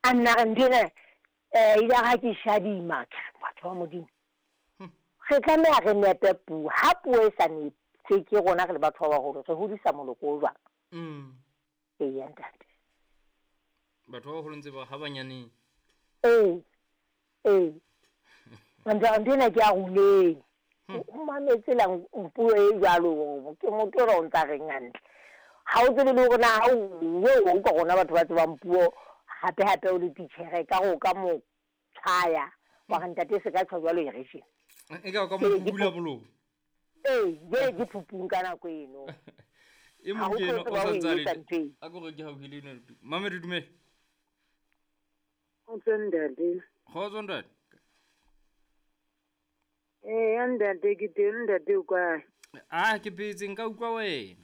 A nna re ntho ena um ile ha ke shadima ke re batho ba Modimo re tlameha re nepe puo. Ha puo e sa neptjwe ke rona re le batho ba baholo re hodisa moloko o jwang? Eya ntate. Batho ba baholo ntse ba ha banyaneng. Ee, ee. Ntho ntho ena ke ya ruleng. O mametse la puo e jwalo ke motho o ntsa reng hantle. Ha o tsebe le hore na ha o o utlwa rona batho ba tsebang puo hape hape o le titjhere ka re o ka mo tshwaya wa re ntate se ka tjho jwalo e re tjena. E ka o ka mo bula bolomo. Ee, jwale ke phupung ka nako eno. E mong ke eno o sa ntse a le. A ko re ke haufi le ena. Mame re dumele. Kgotso ntate. Kgotso ntate. Ee, ntate ke teng ntate o kae? Ah, ke phetse nka utlwa wena.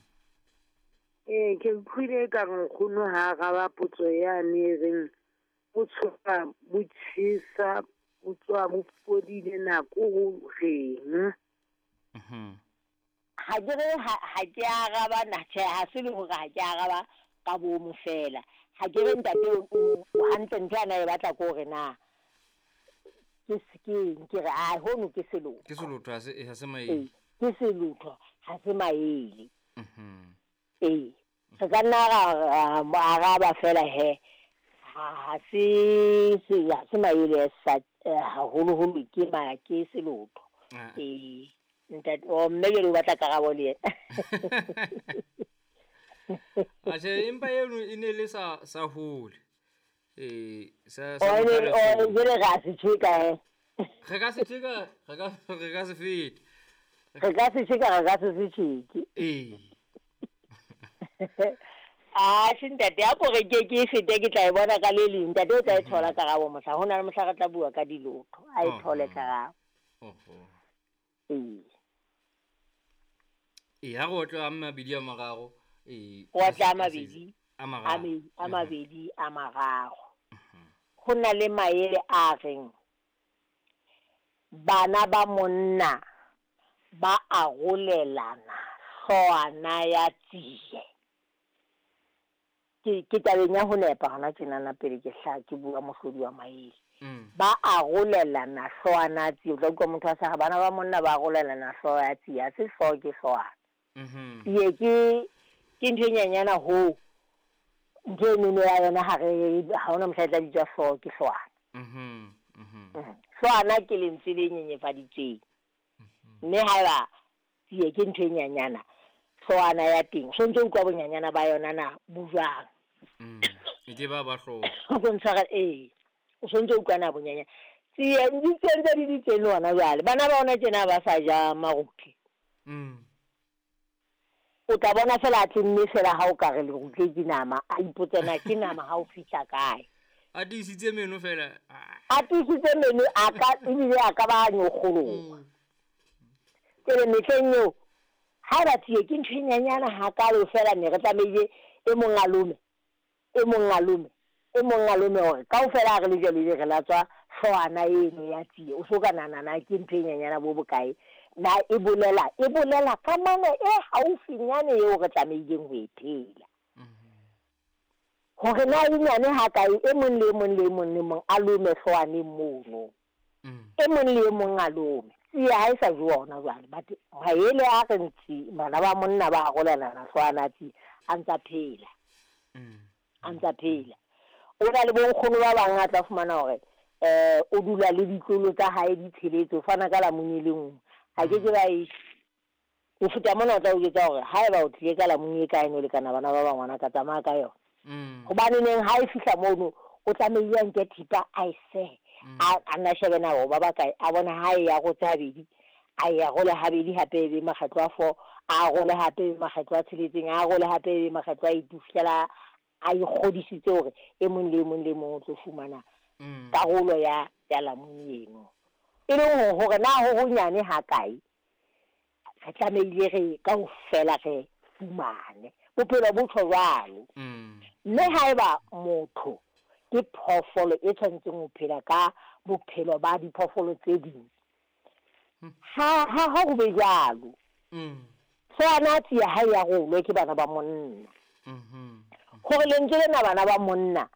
Ee, ke utlwile ka re nkgono ha araba potso yane e reng bo tshoka bo tjhesa bo tswa bo fodile nako ho reng. Ha ke re ha ke araba na tjhe ha se le hore ha ke araba ka bomo fela. Ha ke re ntate o hantle ntho ana e batla ke hore na ke ke ke re a hono ke selotho. Ke selotho ha se ha se maele. Ke selotho ha se maele. Ee, re ka nna ra araba fela he. Ha se ha se maele sa haholoholo ke ma ke selotho. Ee, ntate o mme jwale o batla karabo le yena. Atjhe empa eno e ne le sa sa hole. Ee, sa sa o jwale ra se tjeka he. Re ka se tjeka, re ka se fete. Re ka se tjeka, re ka se se tjeke. Ee. Ah, ntate a ko re ke ke fete ke tla e bona ka le leng. Ntate o tla e thola karabo mohla. Ho na le mohla re tla bua ka dilotho. A e thole karabo. Ee. Ee, ha re otla a mabedi a mararo. Ee. O otla a mabedi. A mararo. A mabedi a mararo. Ho na le maele a reng bana ba monna ba arolelana hloohwana ya tsie. Ke tabeng ya ho nepa hona tjenana pele ke hla ke bua mohlodi wa maele. Ba arolelana hloohwana ya tsie. O tla utlwa motho a sa bana ba monna ba arolelana hlooho ya tsie. Ha se hlooho ke hloohwana. Tsie ke ntho e nyenyana ho ntho e neno ya yona ha re ha hona mohla e tla bitswa hlooho ke hloohwana. Hloohwana ke lentswe le nyenyefaditsweng. Mme haeba tsie ke ntho e nyenyana hloohwana ya teng so ntse utlwa bonyanyana ba yona na bo jwang. E ke ba ba hlooho. O ntshwara ee. O so ntse utlwa na bonyanyana. Tsie di tsentse di di teng le hona jwale. Bana ba hona tjena ba sa ja marutle. O tla bona fela a tlemme fela ha o ka re lerutle ke nama, a ipotse na ke nama ha o fihla kae. A tiisitse meno fela. A tiisitse meno a ka ebile a ka ba nyokgoloha. Tsele mehleng eo ha ba tsie ke ntho e nyenyana hakalo fela ne re tlamehile e mong a lome, e mong a lome, e mong a lome hore kaofela ha re le jwalo ebe re latswa hloohwana eno ya tsie. O so ka nahana na ke ntho e nyenyana bo bokae. Na e bolela kamano e haufinyane eo re tlamehileng ho e phela. Hore na e nyane hakae e mong le mong le mong le mong a lome hloohwaneng mono. E mong le mong a lome. Tsie ha e sa jowa hona jwale. But maele a re ntsi bana ba monna ba arolelana hloohwana tsie a ntsa phela. A ntsa phela. O na le bonkgono ba bang a tla fumana hore o dula le ditlolo tsa hae di tsheletse o fana ka lamune le nngwe. Ha ke ke ba e o feta mona o tla o jwetsa hore haeba o tlile ka lamune e kae no lekana bana ba bang ngwana ka tsamaya ka yona. Hobane neng ha e fihla mono o tlamehile a nke thipa a e sehe. A nna shebe na ba ba kae a bona ha e ya go tsa habedi a ya go le habedi hape e be makgetlo a 4 a go le hape e be makgetlo a tsheletseng a go le hape e be makgetlo a 8 fihlela a ikgodisitse hore e mong le mong le mong o tlo fumana karolo ya lamune eno. E leng hore na ho honyane ha kae re tlamehile re kaofela re fumane bophelo bo tjho jwalo. Mme haeba motho ke phoofolo e tshwanetseng ho phela ka bophelo ba diphoofolo tse ding ha ho be jwalo. Hloohwana tsie ha e arolwe ke bana ba monna. Hore lentswe lena bana ba monna